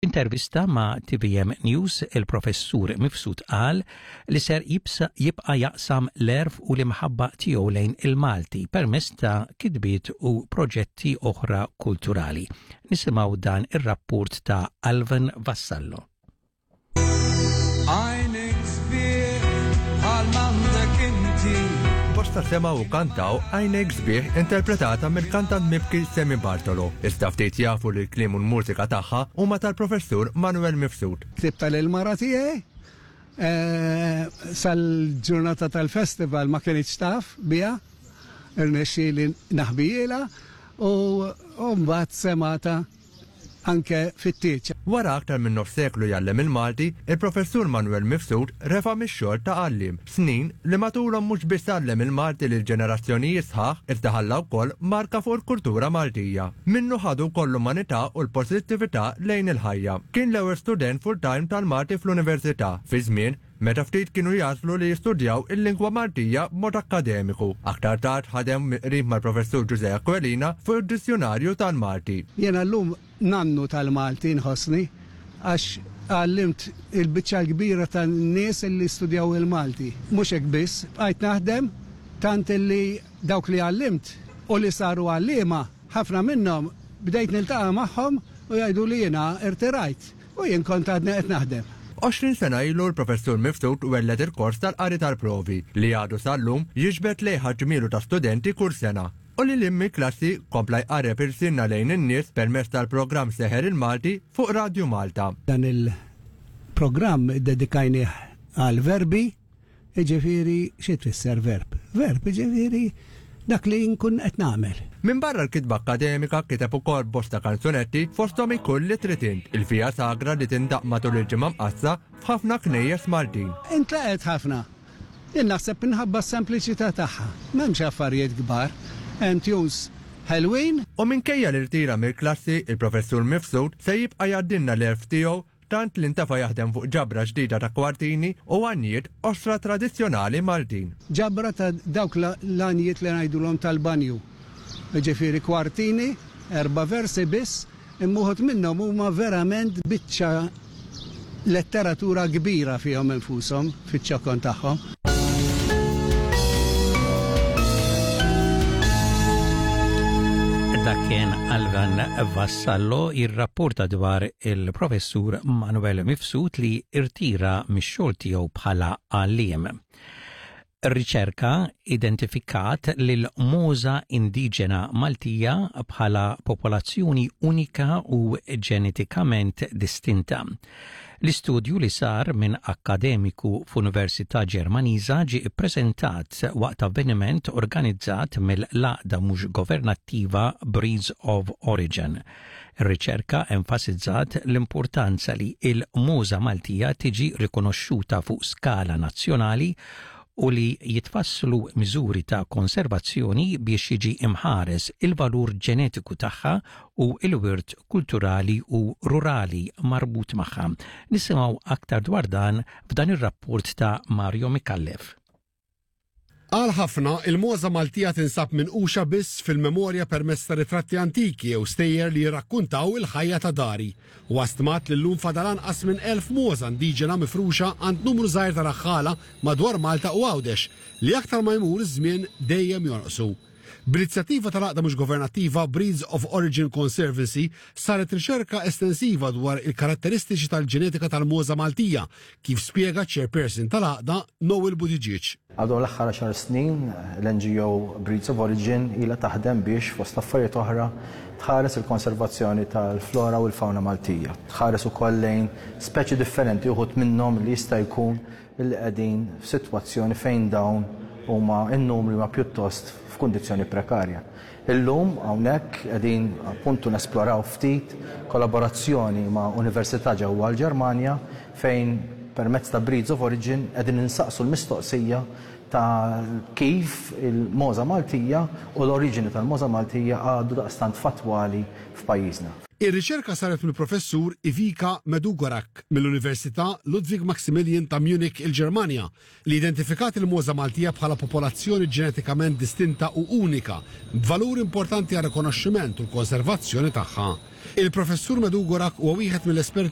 F'intervista ma' tvm News il-Professur Mifsud qal li ser jibqa' jaqsam l-għerf u l-imħabba tiegħu lejn il-Malti permezz ta' kitbiet u proġetti oħra kulturali. Nisimgħu dan ir-rapport ta' Alvin Vassallo. Għajnek sbieħ bħal m'għandek inti. Bosta semgħu u kantaw Għajnek Sbieħ interpretata mill-kantant mibki Sammy Bartolo. Iżda ftit jafu li l-kliem u l-mużika tagħha huma tal-Professur Manuel Mifsud. Ktibtha lill-mara tiegħi sal-ġurnata tal-festival ma kinitx taf biha, irnexxieli naħbijielha u mbagħad semgħetha anke fit-tieġ. Wara aktar minn nofs seklu jgħallem il-Malti, il-Professur Manuel Mifsud refa' mix-xogħol ta' għalliem, snin li matulhom mhux biss għallem il-Malti lil ġenerazzjonijiet sħaħ iżda ħalla wkoll marka fuq il-kultura Maltija. Minnu ħadu wkoll l-umanità u l-pożittività lejn il-ħajja. Kien l-ewwel student full-time tal-Malti fl-Università, fi żmien meta ftit kienu jagħżlu li jistudjaw il-lingwa Maltija b'mod akkademiku. Aktar tard ħadem mill-qrib mal-Professur Ġużè Aquilina fuq id-Dizzjunarju tal-Malti. Jiena llum nannu tal-Malti nħossni għax għallimt il-biċċa l-kbira tan-nies li studjaw il-Malti. Mhux hekk biss, bqajt naħdem tant illi dawk li għallimt u li saru għalliema, ħafna minnhom bdejt niltaqa' magħhom u jgħiduli jiena rtirajt. U jien kont għadni qed naħdem. 20 sena ilu l-Professur Mifsud welled il-kors tal-qari tal-provi li għadu sal-lum jiġbed lejh għadd ġmielu ta' studenti kull sena. U lil hinn mill-klassi kompla jqarreb irsienna lejn in-nies permezz tal-programm Seħer il-Malti fuq Radju Malta. Dan il-programm iddedikajnih għall-verbi Jiġifieri xi tfisser verb? Verb jiġifieri dak li nkun qed nagħmel. Minbarra l-kitba akkademika kiteb ukoll bosta kanzunetti fosthom Ikun li trid int, il-Via Sagra li tindaqq matul il-Ġimgħa Mqaddsa f'ħafna knejjes Maltin. Intlaqgħet ħafna. Jien naħseb minħabba s-sempliċità tagħha. M'hemmx affarijiet kbar. Hemm tunes ħelwin. U minkejja li rtira mill-klassi, il-Professur Mifsud se jibqa' jgħaddilna l-għerf tiegħu tant li ntefa' jaħdem fuq ġabra ġdida ta' kwartini u għanjiet qosra tradizzjonali Maltin. Ġabra ta' dawk l-għanjiet li ngħidulhom tal-banju. Jiġifieri kwartini, erba' versi biss, imma uħud minnhom huma verament biċċa letteratura kbira fihom infushom, fiċ-ċokon tagħhom. Dak kien Alvan Vassallo jirrapporta dwar il-professur Manuel Mifsud li irtira mix-xogħol tiegħu bħala għalliem. Riċerka identifikat lil mogħża indiġena Maltija bħala popolazzjoni unika u ġenetikament distinta. L-istudju li sar minn akkademiku f'università Ġermaniża ġie ppreżentat waqt avveniment organizzat mill-għaqda mhux governattiva Breeds of Origin. Ir-riċerka enfasizzat l-importanza li l-mogħża Maltija tiġi rikonoxxuta fuq skala nazzjonali u li jitfasslu miżuri ta' konservazzjoni biex jiġi mħares il-valur ġenetiku tagħha u l-wirt kulturali u rurali marbut magħha. Nisimgħu aktar dwar dan f'dan ir-rapport ta' Mario Micallef. Għal ħafna, il-mogħża Maltija tinsab minquxa biss fil-memorja permezz ta' ritratti antiki jew stejjer li jirrakkuntaw il-ħajja ta' dari. Huwa stmat li llum fadal anqas minn 1,000 mogħża indiġena mifruxa għand numru żgħir ta' raħħala madwar Malta u Għawdex, li aktar ma jmur iż-żmien dejjem jonqsu. B'inizjattiva tal-għaqda mhux governattiva Breeds of Origin Conservancy saret riċerka estensiva dwar il-karatteristiċi tal-ġenetika tal-mogħża Maltija, kif spjega ċ-chairperson tal-għaqda Noel Buttigieg. Għal dawn l-aħħar għaxar snin, l-NGO Breeds of Origin ilha taħdem biex, fost affarijiet oħra, tħares il-konservazzjoni tal-flora u l-fawna Maltija. Tħares ukoll lejn speċi differenti, uħud minnhom li jista' jkun li qegħdin f'sitwazzjoni fejn dawn huma n-numri huma pjuttost f'kundizzjoni prekarja. Illum hawnhekk qegħdin appuntu nesploraw ftit kollaborazzjoni ma' università ġewwa l-Ġermanja fejn permezz ta' Breeds of Origin qegħdin insaqsu l-mistoqsija ta' kif il-mogħża Maltija u l-oriġini tal-mogħża Maltija għadu daqstant fattwali f'pajjiżna. Ir-riċerka saret mill-Professur Ivica Medugorac mill-Università Ludwig Maximilian ta' Munich, il-Ġermanja, li identifikat il-mogħża Maltija bħala popolazzjoni ġenetikament distinta u unika, b'valur importanti għar-rikonoxximent u l-konservazzjoni tagħha. Il-Professur Medugorac huwa wieħed mill-esperti.